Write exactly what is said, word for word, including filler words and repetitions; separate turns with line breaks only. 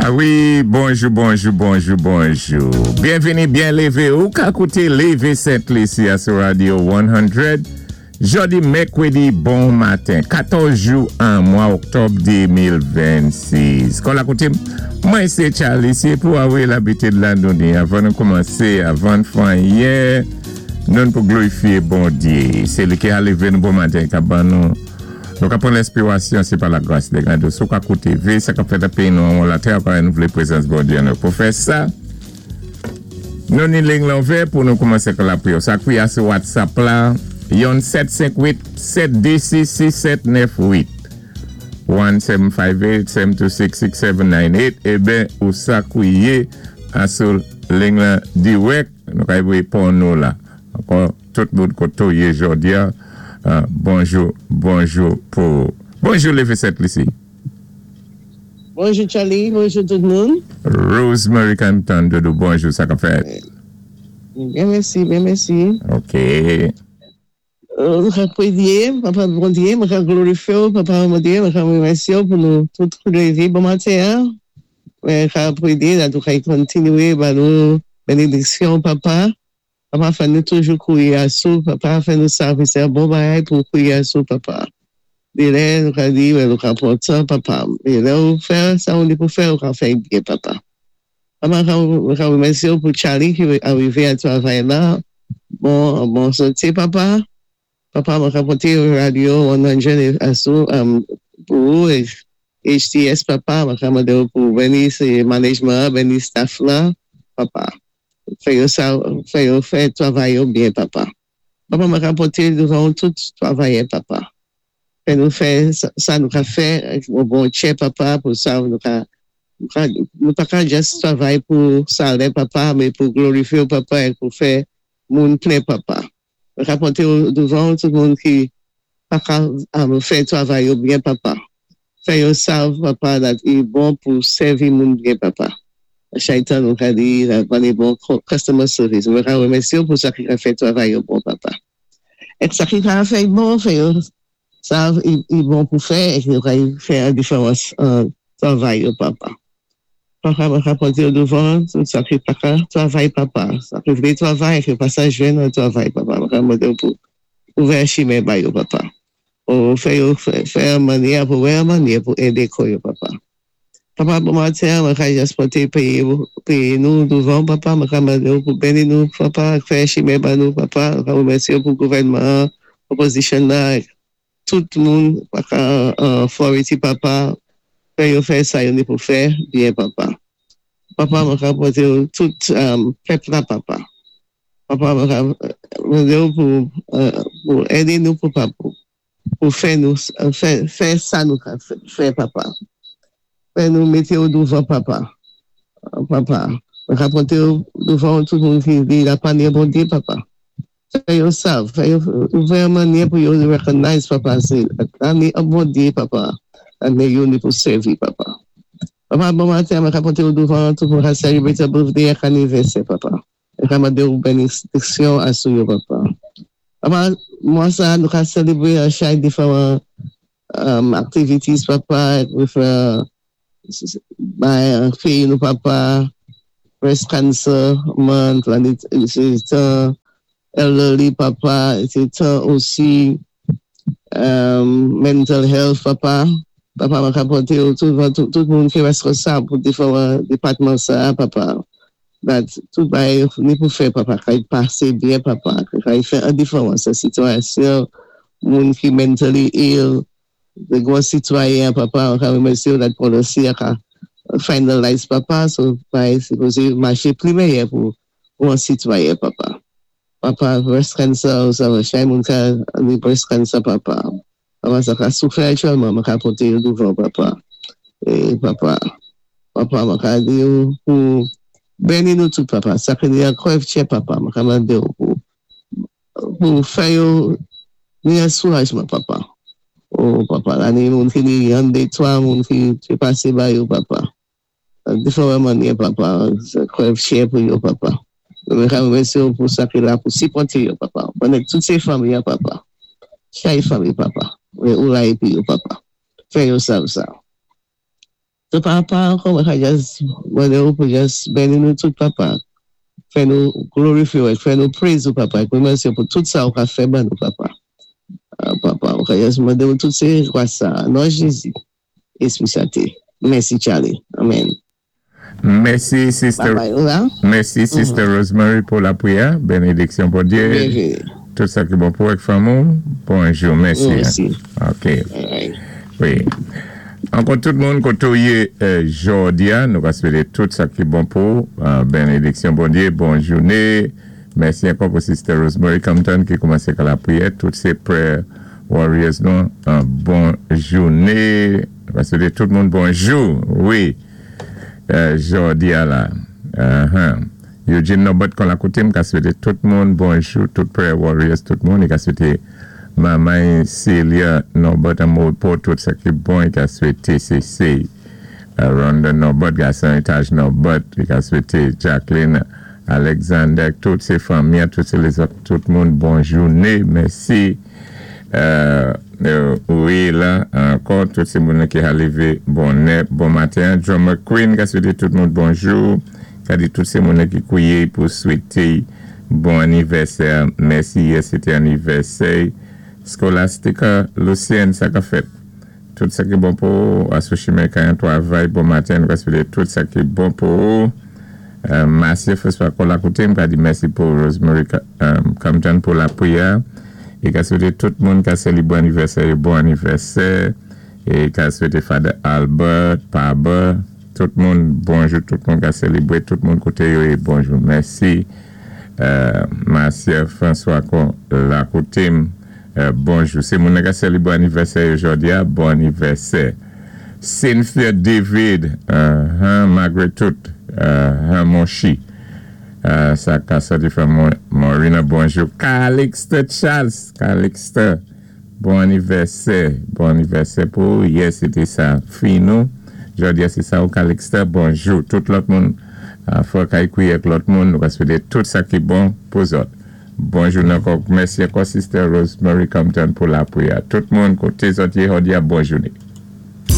Ah wi, bonjou, bonjou, bonjou, bonjou. Byenvini, byen lévé. Ou ka kouté Lévé Sent-Lisi sou Radio san. Jòdi mèkwédi bon maten, katòz jou an mwa oktòb de mil vennsis. Kon la kouté, mwen sé Charlie, sé pou awi labitid la nou di, avan nou koumansé, avan fè anyen, nou pou glorifié Bondyé. Sé li ki a lévé nou bon maten, ka ban nou nou ka pran lenspirasyon, sé pa la gras dé gade. Sou ka kouté, vé sa k ap fèt nan péyi nou an latè, apwé nou vlé prézans Bondyé nou. Pou fè sa, nou ni lign lan ouvè pou nou koumansé ak lapriyè. Sa kwi a sou WhatsApp la, yon sèt senk uit sèt dé sis sis sèt nèf uit. en sèt senk uit sèt dé sis sis sèt nèf uit. Eben, ou sa kwiye a sou lign lan dirèk, nou ka voyé pou nou la. Ankò, tout moun koto yé jòdi a, euh, bonjou, bonjou pou... Bonjou Lévé Sent-Lisi.
Bonjou Charlie, bonjou tout moun.
Rosemary Canton Doudou, bonjou, sa k ap fèt?
Byen mèsi, byen mèsi.
Ok.
Euh, Mwen pwédyé, Papa Bondyé, mwen ka glorifié ou, Papa Bondyé, mwen ka wémèsyé ou pou nou tout lévé bon maten. En? Mwen ka pwédyé, la tou ka kontinwé ba nou bénédiksyon, Papa. Papa, fè nou toujou kwié asou, Papa, fè nou sav sé bon bagay pou kwié asou, Papa. Dé lè, nou ka di, wè, nou ka pran tan, Papa. É lè ou fè sa ou ni pou fè, ou ka fè byen, Papa. Papa, mwen ka wémèsyé ou pou Charlie ki arivé a twavay la. Bon, bon santé, Papa. Papa, mwen ka poté radio san asou um, pou ou, H T S, Papa, mwen ka mandé ou pou béni sé management, béni staff la, Papa. Fè yo sa, fè yo fè twavay yo byen, Papa. Papa, mwen ka poté douvan tout twavayè, Papa. Fè nou fè sa, sa nou ka fè, yon bon tchè, Papa, pou sa nou ka, nou ka, nou pa ka just twavay pou salè, Papa, mé pou glorifié ou, Papa, é pou fè moun plen, Papa. Mwen ka poté ou douvan tout moun ki pa ka um, fè twavay yo byen, Papa. Fè yo sav, Papa, that i bon pou sèvi moun byen, Papa. Chaytan nou ka di, la ban bon customer service. Mwen ka wémèsyé ou pou sa ki ka fè twavay yo bon, Papa. Ek sa ki ka fè bon, fè yo sav i, i bon pou fè, ek yo ka fè an diferans an twavay yo, Papa. Papa, mwen ka poté ou douvan tout sa ki pa ka twavay, Papa. Sa ki vlé twavay, ek yo pa sa jwenn an twavay, Papa. Mwen ka mandé ou pou ouvè chimen ba yo, Papa. Ou fè yo fè, fè an mannyè pou wè an mannyè pou édé kò yo, Papa. Papa, bon maten, mwen ka just poté péyi, péyi nou douvan, Papa, mwen ka mandé ou pou béni nou, Papa, fè chimen ba nou, Papa, mwen ka wémèsyé ou pou gouvènman, opposition la, tout moun, paka uh, authority, Papa, fè yo fè sa yo ni pou fè, byen, Papa. Papa, mwen ka poté ou tout um, pèp la, Papa. Papa, mwen ka mandé ou pou, uh, pou édé nou pou, pou, pou fè nou, fè, fè sa nou ka fè, fè, Papa. Fè nou mété ou douvan, Papa. Papa, mwen ka poté ou douvan tout moun ki di la pa ni Bondyé, Papa. Fè yo sav, fè yo ouvè an mannyè pou yo recognize, Papa, sé la ni an Bondyé, Papa. Ane yo ni pou sèvi, Papa. Papa, bon maten, mwen ka poté ou douvan tout moun ka celebrate birthday ak anivèsè, Papa. Mwen ka mandé ou bénédiksyon asou yo, Papa. Papa, mwa sa, nou ka celebrate a chak different um, activities, Papa, with uh, by péyi nou, Papa, breast cancer month, and it, it's, it's uh, elderly, Papa, it's uh, osi um, mental health, Papa. Papa, mwen ka poté ou tout, tout, tout moun ki wéskonsab pou diferan dépatman sa, Papa. That tout bagay ni pou fè, Papa, ka y pasé byen, Papa, ka y fè an diferans sa sitwasyon, moun ki mentally ill, de gwo sitwayen, Papa, mwen ka wémèsyé ou that policy a ka finalize, Papa, so bagay sipozé maché pli méyè pou, pou an sitwayen, Papa. Papa, breast cancer, ou sa, chay moun ka ni breast cancer, Papa. Papa, sa ka soufè aktyèlman, mwen ka poté yo douvan, Papa. E, Papa, Papa, mwen ka di yo pou béni nou tout, Papa. Sa ki ni an krèv tchè, Papa, mwen ka mandé ou pou, pou fè yo ni an soulajman, Papa. Oh, Papa, la ni moun ki ni yon, dé, twa, moun ki te pasé ba yo, Papa. Diferan mannyè, Papa, krèv tchè pou yo, Papa. Mwen ka wémèsyé ou pou sa ki la pou sipòté yo, Papa. Mwen tout sé fanmi, Papa. Chay fanmi, Papa. Mwen ou la épi yo, Papa. Fè yo sav sa. So Papa, ankò mwen ka just mandé ou pou just béni nou tout Papa. Fè nou glorifyé, fè nou praise ou Papa. Mèsi pou tout sa ou ka fè ban nou Papa. Ah, Papa, mwen ka just mandé ou tout sé gwas sa. Non Jézi. Éspwi Sen. Mèsi Charlie. Amen.
Mèsi, Sister.
Bye bye, ou la?
Mèsi, Sister Rosemary, pou lapriyè. Bénédiksyon Bondyé.
Byenvini.
Tout sa ki bon pou avèk fanmi. Bonjou, mèsi.
Mèsi.
OK.
All right.
Wi. Ankò tout moun koté ou yé euh, jòdi a, nou va swété tout sa ki bon pou euh, bénédiksyon Bondyé, bon jouné. Mèsi ankò pou Sister Rosemary Compton ki koumansé ak lapriyè. Tout sé prayer warriors nou, euh, bon jouné. Nou va swété tout moun bonjou. Wi. Euh, jòdi a la. Uh-huh. Eugene Norbert kon la koté, m ka swété tout moun bonjou, tout prayer warriors, tout moun, i ka swété Maman Celia Norbert an pou tout sa ki bon, i ka swété C C uh, Rhonda Norbert, gason etaj Norbert, i ka swété Jacqueline Alexander, tout sé fanmi, tout sé lézòt, tout moun, bon jouné, mèsi. Euh, euh, wi, la, ankò, tout sé moun ki a lévé bonè, bon maten. Drummer Queen, ka swété tout moun bonjou, ka di tout sé moun ki kwié pou swété bon anivèsè. Mèsi, yè sété anivèsè. Scholastica Lucien, sa ka fèt. Tout sa ki bon pou asosye kan travay, bon maten, nou ka swété tout sa ki bon pou euh, Marcia François kon la koté, m ka di mèsi pou Rosemary um, Compton pou lapriyè. É ka swété tout moun ka sélibré anivèsè, bon anivèsè. É ka swété Father Albert, Paba, tout moun, bonjou, tout moun ka sélibré, tout moun koté yo é bonjou. Mèsi. Euh, Marcia François kon la koté, euh, bonjou. Sé moun ka sélibré anivèsè jòdi a, bon anivèsè. Cynthia David, uh, Margaret Tout, uh, Monchi. Euh, sa ka soti fè Morina, bonjou. Calixte Charles, Calixte, bon anivèsè, bon anivèsè pou yè, sété sa fi nou. Jòdi a sé sa ou Calixte, bonjou. Tout lòt moun, uh, fò kay kwié ak lòt moun, nou ka swété tout sa ki bon pou zòt. Bonjou ankò, mèsi ankò Sister Rosemary Compton pou lapriyè. Tout moun koté zòt yé jòdi a, bon jouné.